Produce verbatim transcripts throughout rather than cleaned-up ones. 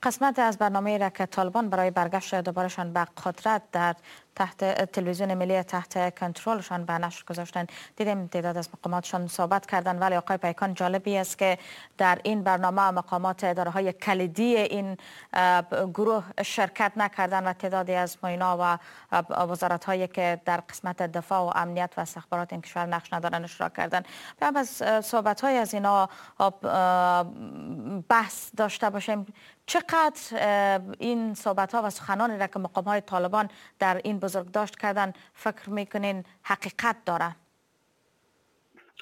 قسمت از برنامه را که طالبان برای برگشت دوبارهشان به قدرت در تحت تلویزیون ملی تحت کنترلشان به نشر گذاشتن دیدیم تعداد از مقاماتشان صحبت کردن. ولی آقای پیکان، جالبی است که در این برنامه مقامات اداره های کلیدی این گروه شرکت نکردن و تعدادی از معینا و وزارت هایی که در قسمت دفاع و امنیت و استخبارات این کشور نقش ندارن اشتراک کردن. بیایم از صحبت های از اینا بحث داشته باشیم. چقدر این صحبت ها و سخنانی را که مقام های طالبان در این بزرگداشت کردن فکر میکنین حقیقت داره؟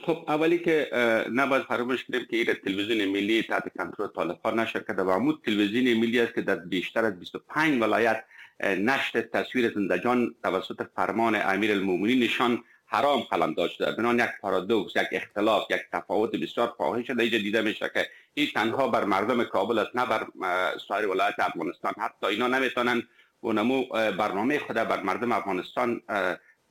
خب اولی که نباید فراموش کنیم که این تلویزیون ملی تحت کنترل طالبان نشر کرده و عمود تلویزیون ملی است که در بیشتر از بیست و پنج ولایت نشر تصویر زندجان توسط فرمان امیرالمومنین نشان حرام قلمداد شده. بنابراین یک پارادوکس، یک اختلاف، یک تفاوت بسیار فاحش در اینجا دیده میشه که این تنها بر مردم کابل است، نه بر سایر ولایت افغانستان. حتی اینا نمیتونن اونمو برنامه خود بر مردم افغانستان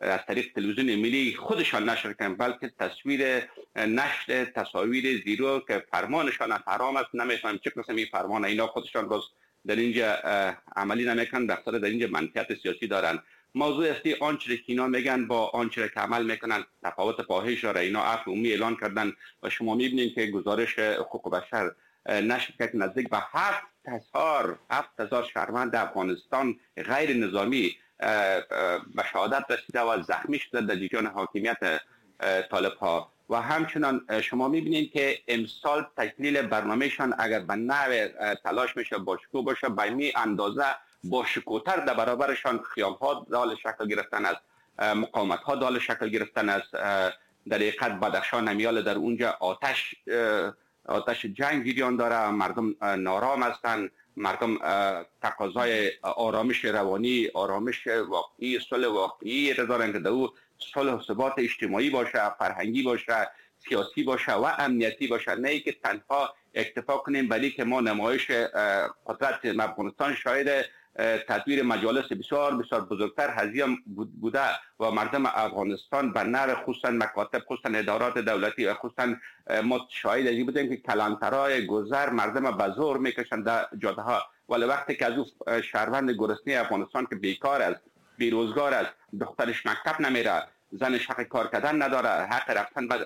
از طریق تلویزیون ملی خودشان نشر کنند، بلکه تصویر نشر تصاویر زیرو که فرمانشان حرام است. نمیفهمم چه قسم این فرمان اینا خودشان باز در اینجا عملی نمیکنن، به خاطر در اینجا منفعت سیاسی دارن. موضوع اصلی آنچه که اینا میگن با آنچه که عمل میکنن تفاوت فاحش داره. اینا عفو عمومی اعلان کردن و شما میبینید که گزارش حقوق بشر نشر کرد نزدیک به هفت هزار هفت هزار شهروند افغانستان غیر نظامی به شهادت رسیده و زخمی شده در جریان حاکمیت طالب ها. و همچنان شما میبینید که امسال تکلیل برنامهشان اگر به نوع تلاش میشه باشکوه باشه، به می اندازه با شکوتر در برابرشان خیام ها دال شکل گرفتن است، مقاومت ها دال شکل گرفتن است. در حقیقت بدخشان امیال در اونجا آتش آتش جنگ جریان داره، مردم نارام هستند، مردم تقاضای آرامش روانی، آرامش واقعی، صلح واقعی را دارن که در او صلح و ثبات اجتماعی باشه، فرهنگی باشه، سیاسی باشه و امنیتی باشه، نه اینکه تنها اکتفا کنیم بلی که ما نمایش قدرت افغانستان شاهد تدویر مجالس بسیار بسیار بزرگتر هزیم بوده و مردم افغانستان به نوع خصوصا مکاتب، خصوصا ادارات دولتی و خصوصا ما شاهد از این بودیم که کلانترای گذر مردم به زور میکشن در جاده ها. ولی وقتی که از او شهروند گرسنه افغانستان که بیکار است، بیروزگار است، دخترش مکتب نمیره، زنش حق کار کردن نداره، حق رفتن به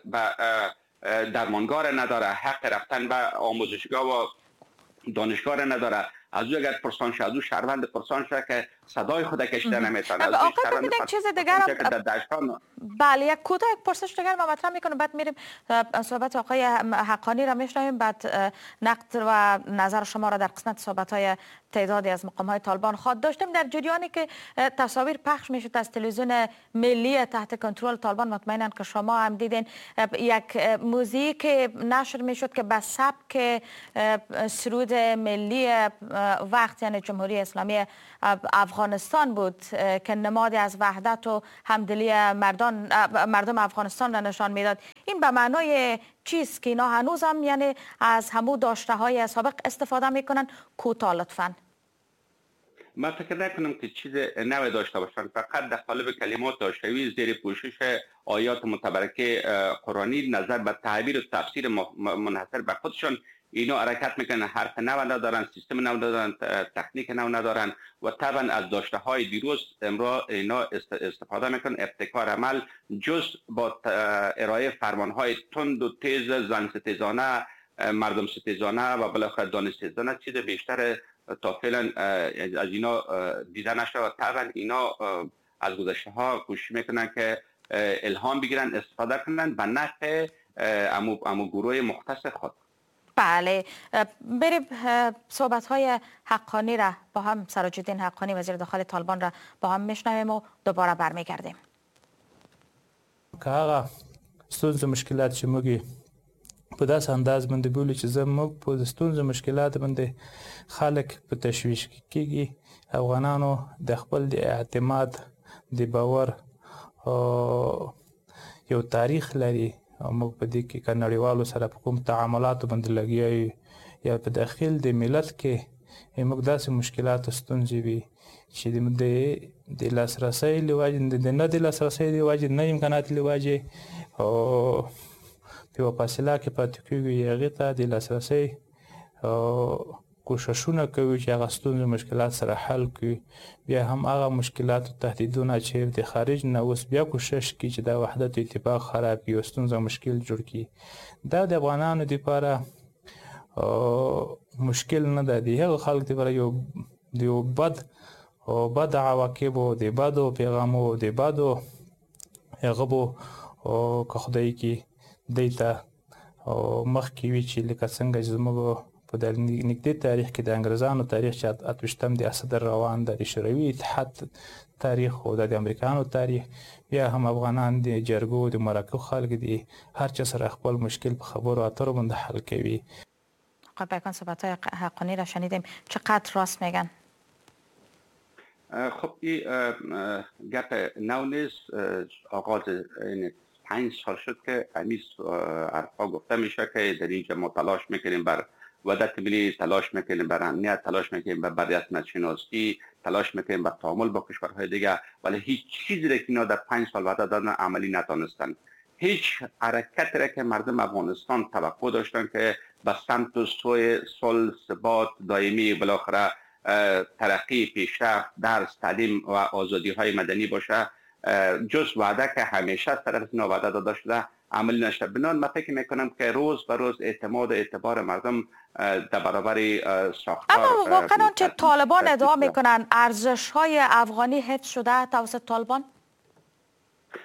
درمانگاه نداره، حق رفتن به آموزشگاه و دانشگاه نداره، از او اگر پرسان شد، از او شهروند پرسان شد که صدای خود کشیده نمیتونه. آقا ببینید یک چیز دیگر هم، بله یک کوتاه یک پرسش دیگر ما مطرح میکنم، بعد میریم صحبت آقای حقانی را میشنویم، بعد نقد و نظر شما را در قسمت صحبت های تعدادی از مقام های طالبان خواهد داشتیم. در جریانی که تصاویر پخش میشد از تلویزیون ملی تحت کنترل طالبان، مطمئنا که شما هم دیدین، یک موزیک نشر میشد که به سبک سرود ملی وقت یعنی جمهوری اسلامی افغانستان بود که نمادی از وحدت و همدلی مردان مردم افغانستان را نشان میداد. این به معنای چیست که اینا هنوز هم یعنی از همو داشته های سابق استفاده میکنن؟ کوتاه لطفاً. من فکر نکنم که چیز نو داشته باشند، فقط در قالب کلمات داشتوی زیر پوشش آیات متبرکه قرآنی نظر به تعبیر و تفسیر منحصر به خودشان اینا حرکت میکنن. حرف نو ندارن، سیستم نو ندارن، تکنیک نو ندارن و طبعا از داشته های دیروز امروز اینا استفاده میکنن. ابتکار عمل جز با ارائه فرمان های تند و تیز، زن ستیزانه، مردم ستیزانه و بالاخره دانش ستیزانه چیز بیشتر تا فعلا از اینا دیده نشده و طبعا اینا از گذشته ها کوشش میکنن که الهام بگیرن، استفاده کنن به نفع امو, امو گروه مختص خود. بله، بریم صحبت های حقانی را با هم، سراج الدین حقانی وزیر داخل طالبان را با هم میشنویم و دوباره برمیگردیم. که هغه ستونزې مشکلات چې موږ په داسې انداز باندې بولو چې زموږ په ستونزو مشکلات باندې خلک په تشویش کېږي، افغانانو د خپل د اعتماد د باور یو تاریخ لري او موږ په دې کې که نړیوالو سره په کوم تعاملاتو باندې لګیا یو یا په داخل د ملت کې موږ داسې مشکلات او ستونزې وي چې د د لاسرسي له وجې د نه د لاسرسي له وجې نه امکانات له وجې او په یوه فاصله کې پاتې کېږو، هغې ته د لاسرسي کوښښونه کوي چې هغه ستونزې مشکلات سره حل کړي. بیا هم هغه مشکلات او تهدیدونه چې د خارج نه اوس بیا کوشش کوي چې دا وحدت او اتفاق خراب کړي او ستونزه مشکل جوړ کړي، دا د افغانانو دپاره مشکل نه ده، د هغو خلکو دپاره یو د یو بد او بد عواقبو، د بدو پیغامو، د بدو هغه به که خدای کې دی ته مخکې وي چې لکه څنګه چې زموږ په د نږدې تاریخ کې د انګریزانو تاریخ چې اتویشتم د عصر روان ده، د شوروي اتحاد تاریخ او د امریکانو تاریخ، بیا هم افغانان د جرګو د مرکو خلک دي، هر چا سره خپل مشکل په خبرو اترو باندې حل کوي. آقای پیکان، صحبت‌های حقانی را شنیدیم، چقدر راست میگن؟ خب این گپ نو نیست، آغاز پنج سال شد که همیز حرفا گفته میشه که در اینجا ما تلاش میکنیم بر وحدت ملی، تلاش میکنیم بر امنیت، تلاش میکنیم بر رسمیت شناسی، تلاش میکنیم بر تعامل با کشورهای دیگه، ولی هیچ چیزی را که اینا در پنج سال وعده دادن عملی نتانستن. هیچ حرکت را که مردم افغانستان توقع داشتن که به سمت و سوی صلح، ثبات دائمی، بالاخره ترقی، پیشرفت، درس، تعلیم و آزادی های مدنی باشه، جز وعده که همیشه از طرف اینا وعده داده شده عملی نشده. بنابراین من فکر میکنم که روز به روز اعتماد و اعتبار مردم در برابر ساختار. اما واقعا آنچه طالبان ادعا میکنن ارزش های افغانی حفظ شده توسط طالبان؟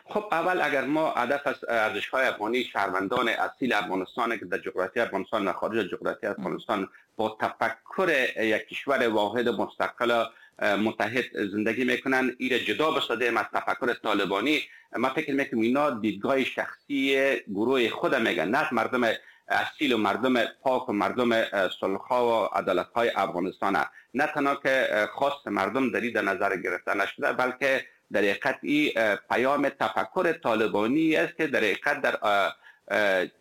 خب اول اگر ما هدف از ارزش های افغانی شهروندان اصیل افغانستان که در جغرافی افغانستان و خارج از جغرافی افغانستان با تفکر یک کشور واحد مستقل متحد زندگی میکنن، ایره جدا بسازیم از تفکر طالبانی، ما فکر میکنم اینا دیدگاه شخصی گروه خود میگن، نه مردم اصیل و مردم پاک و مردم صلح‌خواه و عدالت‌های افغانستان. نه تنها که خواست مردم در در نظر گرفته نشده، بلکه در حقیقت این پیام تفکر طالبانی است که در حقیقت در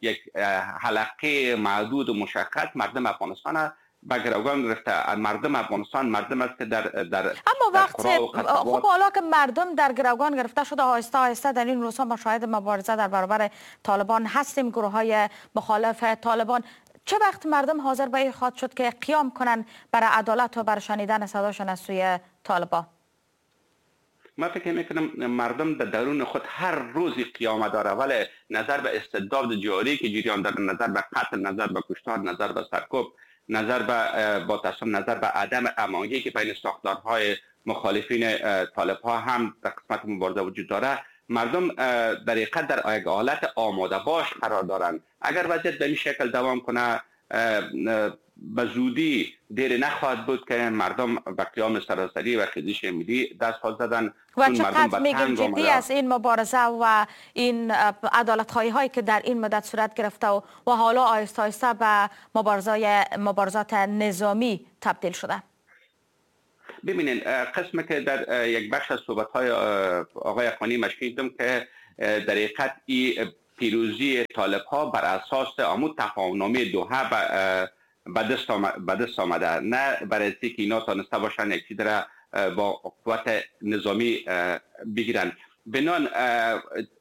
یک حلقه معدود و مشخص مردم افغانستان به گروگان گرفته. مردم افغانستان مردم است که در در اما وقت خب حالا که مردم در گروگان گرفته شده، آهسته آهسته در این روزها ما شاهد مبارزه در برابر طالبان هستیم، گروه های مخالف طالبان. چه وقت مردم حاضر به این خواهد شد که قیام کنن برای عدالت و برای شنیدن صداشان از سوی طالبان؟ من فکر میکنم مردم در درون خود هر روزی قیامه داره، ولی نظر به استبداد جاری که جریان داره، نظر به قتل، نظر به کشتار، نظر به سرکوب، نظر به با تصمیم، نظر به عدم امانگی که بین ساختارهای مخالفین طالب ها هم در قسمت مبارزه وجود داره، مردم در حقیقت در یک حالت آماده باش قرار دارند. اگر وضعیت به این شکل دوام کنه، به زودی دیر نخواهد بود که مردم به قیام سراسری و خیزش ملی دست خواهد زدن. و چقدر میگیم جدی از این مبارزه و این عدالت خواهی هایی که در این مدت صورت گرفته و, و حالا آهسته آهسته به مبارزات نظامی تبدیل شده؟ ببینین، قسم که در یک بخش از صحبت های آقای حقانی مشکیدم که در حقیقت این پیروزی طالب ها بر اساس آمود تفاهمنامه دوحه به دست آمده، نه برای اینکه اینا تانسته باشن یک چیز را با قوت نظامی بگیرن. بنان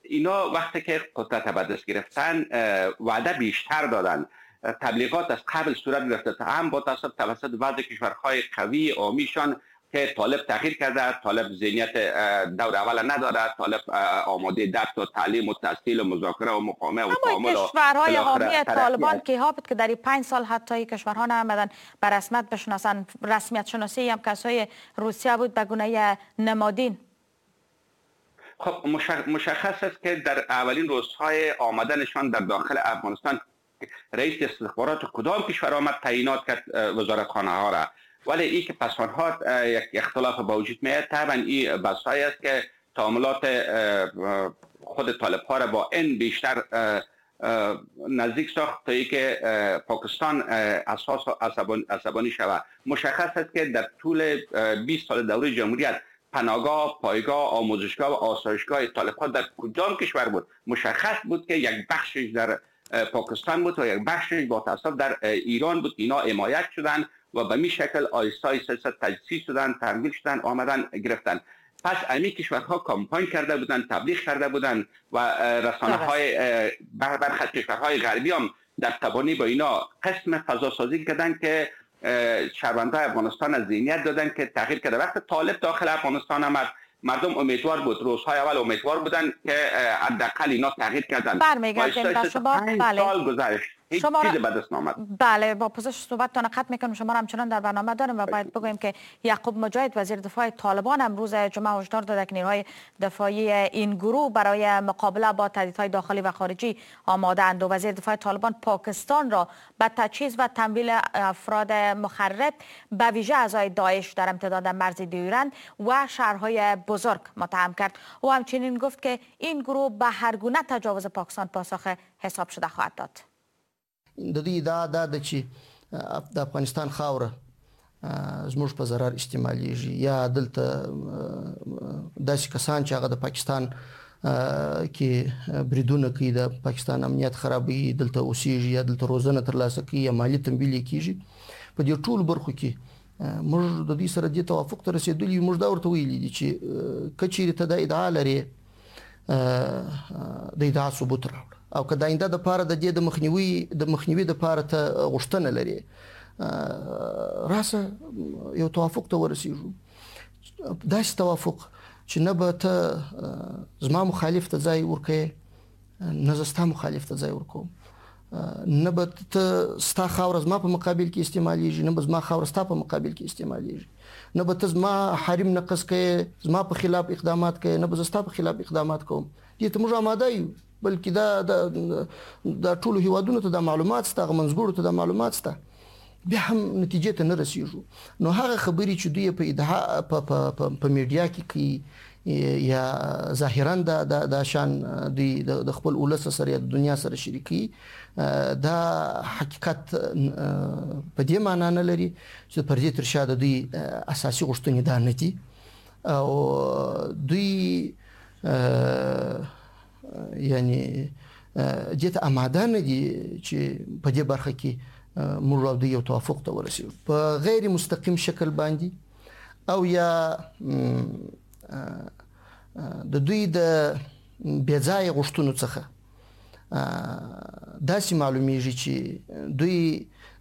اینا وقتی که قدرت به دست گرفتن وعده بیشتر دادن، تبلیغات از قبل صورت گرفته، هم با توسط توسط بعض کشورهای قوی آمیشان که طالب تغییر کرده، طالب ذهنیت دور اول نداره، طالب آماده درس و تعلیم و تحصیل و مذاکره و مقاومه و تعامل. اما کشورهای حامی طالبان که ها بود که در این پنج سال حتی کشورها نآمدن به رسمیت بشناسن، رسمیت شناسی هم کسای روسیه بود به گونه نمادین. خب مشخص است که در اولین روزهای آمدنشان در داخل افغانستان رئیس استخبارات کدام کشور آمد تعیینات کرد وزارتخانه ها را، ولی ای که پس آنها یک اختلاف با وجود میاد، طبعا این بحث‌هایی است که تعاملات خود طالب ها را با این بیشتر نزدیک ساخت تا اینکه پاکستان اساس عصبانی شود. مشخص است که در طول بیست سال دوره جمهوریت پناهگاه، پایگاه، آموزشگاه و آسایشگاه طالب ها در کدام کشور بود؟ مشخص بود که یک بخشش در پاکستان بود و یک بخشش با تاسف در ایران بود. اینا حمایت شدن و به می شکل آیسته آیسته تجسیس شدن، تحمیل شدن، آمدن گرفتن. پس امی کشورها کامپاین کرده بودن، تبلیغ کرده بودن و رسانه های برخی کشورهای غربی هم در تبانی با اینا قسم فضا سازی کردن که شهروندای افغانستان از ذهنیت دادن که تغییر کرده. وقتی طالب داخل افغانستان آمد، مردم امیدوار بود، روزهای اول امیدوار بودن که حداقل اینا تغییر کردن. برمیگردیم به شما. بله، سال گذشت، هیچ شما چیز به دست نامد. بله، با پوزش صحبتتان قطع میکنم، شما را همچنان در برنامه داریم و باید بگوییم که یعقوب مجاهد، وزیر دفاع طالبان، امروز جمعه هشدار داده که نیروهای دفاعی این گروه برای مقابله با تهدیدهای داخلی و خارجی آماده اند و وزیر دفاع طالبان پاکستان را به تجهیز و تمویل افراد مخرب، به ویژه اعضای داعش، در امتداد مرز دیورند و شهرهای بزرگ متهم کرد. او همچنین گفت که این گروه به هر گونه تجاوز پاکستان پاسخ حساب شده خواهد داد. د دوی ادعا دا ده چې د افغانستان خاوره زموږ په ضرر استعمالیږي، یا دلته داسې کسان چې هغه د پاکستان کې بریدونه کوي، د پاکستان امنیت خرابوي، دلته اوسیږي یا دلته روزنه ترلاسه کوي یا مالي تمویل یې کیږي. په دې ټولو برخو کې موږ د دوی سره دې توافق ته رسېدلي یو. موږ دا ورته ویلي دي چې که چیرې ته دا ادعا لرې، د ادعا ثبوت راوړه، او که د آینده دپاره د دې د مخنیوي د مخنیوي دپاره ته غوښتنه لرې، راسه یو توافق ته ورسیږو، داسې توافق چې نه به ته زما مخالف ته ځای ورکوې، نه زه ستا مخالف ته ځای ورکوم، نه به ته ستا خاوره زما په مقابل کې استعمالیږي، نه به زما خاوره ستا په مقابل کې استعمالیږي، نه به ته زما حریم نقض کوې، زما په خلاف اقدامات کوې، نه به زه ستا په خلاف اقدامات کوم. دې ته موږ آماده یو، بلکې دا د ټولو هیوادونو ته دا معلومات شته، هغه منځګړو ته دا معلومات شته، بیا هم نتیجې ته نه رسیږو. نو هغه خبرې چې دوی په ادعا په په په, په میډیا کې کوي یا ظاهرا دا دا, دا شان دوی د خپل ولس سره یا د دنیا سره شریکي، دا حقیقت په دې معنا نه لري چې پر دې تر شا د دوی اساسي غوښتنې دا نه دي، او دوی یعنی دې ته اماده نه دي چې په دې برخه کې موږ او دوی یو توافق ته ورسیږو په غیر مستقیم شکل باندې، او یا د دوی د بې ځایه غوښتنو څخه داسې معلومیږي چې دوی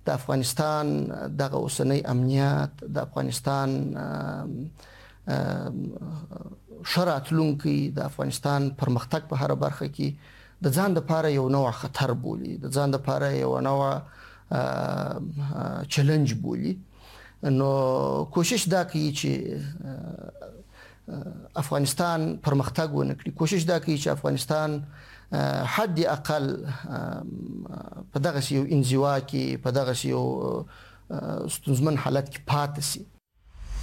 د افغانستان دغه اوسنی امنیت، د افغانستان ښه راتلونکی، د افغانستان پرمختګ په هره برخه کې د ځان دپاره یو نوع خطر بولي، د ځان دپاره یو نوع چلنج بولي. نو کوشش دا کوي چې افغانستان پرمختګ ونه کړي، کوشش دا کوي چې افغانستان حد اقل په دغسې یو انزوا کې، په دغسې یو ستونزمن حالت کې پاتې شي.